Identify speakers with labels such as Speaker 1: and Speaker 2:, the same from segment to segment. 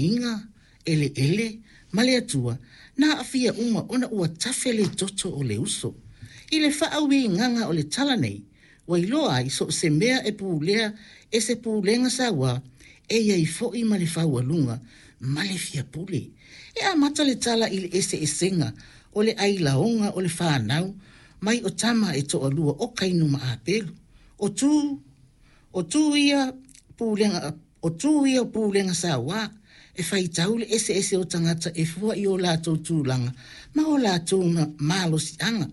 Speaker 1: Iga, eleele, ma le Atua, na aafia uma ona ua tafe le toto o le uso. I le faauigaga o le tala nei, ua iloa ai so o se mea e pulea e se pulega sauā, e i ai foi ma le faualuga ma le fiapule. E amata le tala i le eseesega o le ailaoga o le fanau mai o tama e toalua o Kaino ma Apelu. O tu O tu ia pulega, o tu ia o pulega sauā, e faitau le eseese o tagata e fua i o latou tulaga ma o latou malosiaga.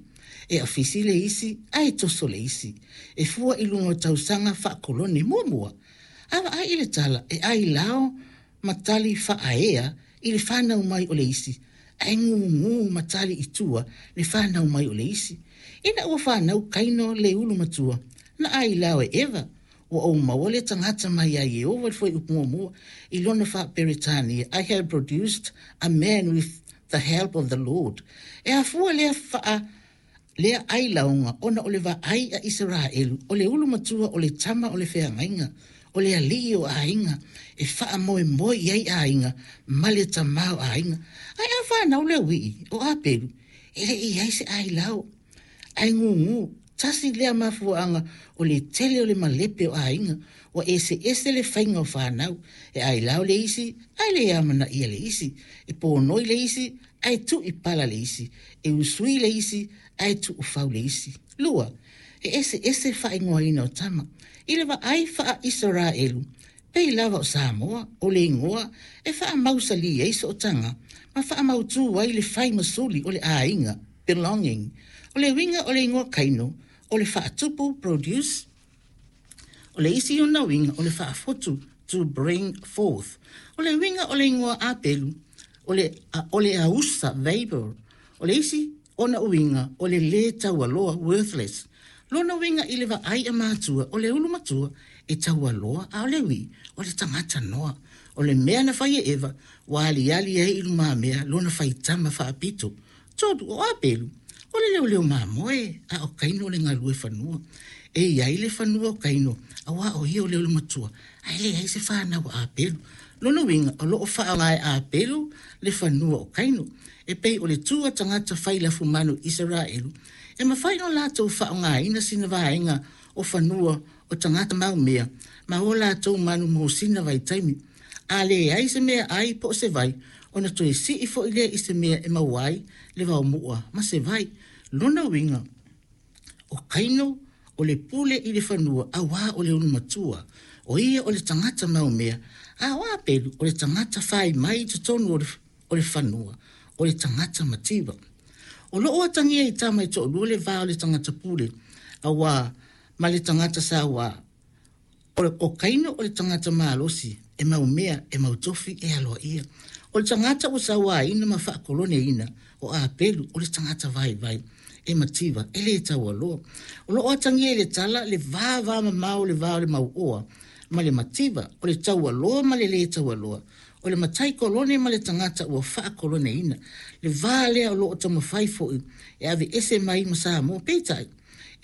Speaker 1: E afisi le isi ae toso le isi, e fua i luga o tausaga faakolone. Muamua, a vaai i le tala e ailao ma tali faaea i le fanau mai o le isi, ae gugu ma tali i tua le fanau mai o le isi. Ina ua fanau Kaino le ulu matua, na ailao e Eva, Ua ou maua le tagata mai ia Ieova i le fuaiupu muamua i lona faa-Peretania, I have produced a man with the help of the Lord. E afua lea faa lea ailaoga ona o le vaai a Isaraelu, o le ulu matua o le tama o le feagaiga, o le alii o aiga, e faamoemoe i ai aiga ma le tama o aiga. Ae a fanau le auii, o Apelu, e le i i ai se ailao, ae gugu, tasi lea mafuaaga o le tele o le malepe o aiga, ua eseese le faiga o fanau, e ailao le isi ae le amanaia le isi, e ponoi le isi ae tuu i pala le isi, e usui le isi ae tuufau le isi. Lua, e eseese faaigoaina o tama. I le vaai faa-Isaraelu, pei lava o Samoa, o le igoa e faamausalī ai sootaga ma faamautū ai le fai ma suli o le aiga, belonging. O le uiga o le igoa Kaino, o le faatupu, produce. O le isi ona uiga o le faafotu, to bring forth. O le uiga o le igoa Apelu, o le, o le ausa, vapor. O le isi ona uiga o le lē taualoa, worthless. Lona uiga i le vaai a matua, o le ulu matua e taualoa, a o le uī, o le tagata noa. O le mea na fai e Eva, ua aliali ai i lumamea lona faitama faapito. Tolu, o Apelu, o le leoleo mamoe, a o Kaino o le galue fanua. E i ai le fanua o Kaino, auā o ia o le ulu matua, ae leai se fanau a Apelu. Lona uiga, o lo o faaaoga e Apelu le fanua o Kaino. E pei o le tu a tagata fai lafumanu i Isaraelu, e mafai ona latou faaaogaina sina vaega o fanua o tagata mau mea ma o latou manu mo sina vaitaimi. A leai se meaai po o se vai, ona toe sii foi lea i se mea e maua ai le vaomu'a ma se vai. Lona uiga, o Kaino o le pule i le fanua auā o le ulu matua, o ia o le tagata mau mea, a o Apelu o le tagata fai mai i totonu o le, o le fanua, o le tagata mativa. O loo atagia i tama e toalua le va o le tagata pule, auā ma le tagata sauā. O Kaino o le tagata malosi, e mau mea, e mau tofi, e aloaia. O le tagata ua sauāina ma faakoloneina, o Apelu, o le tagata vaivai, e mativa, e lē taualoa. O lo o atagia i le tala le vavamamao o le va o le mauoa ma le mativa, o le taualoa ma le lē taualoa, o le matai kolone ma le tagata ua faakoloneina. Le va lea o lo o taumafai foi e aveese mai ma Samoa. Peitai,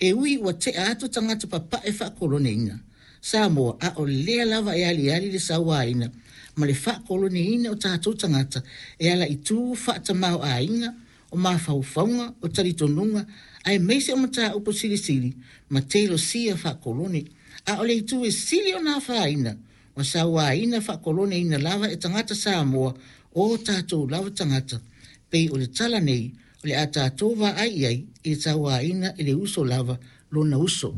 Speaker 1: E ui ua tea atu tagata papae faakoloneina Samoa, a o lea lava e aliali le sauaina ma le faakoloneina o tatou tagata e ala i tu faatamaoaiga, o mafaufauga, o talitonuga, aemaise o mataupu silisili ma telosia faakolone. A o le itu e sili ona afaina, ua sauaina faakoloneina lava e tagata Samoa o tatou lava tagata, pei o le tala nei o le a tatou vaai i ai i le sauaina e le uso lava lona uso.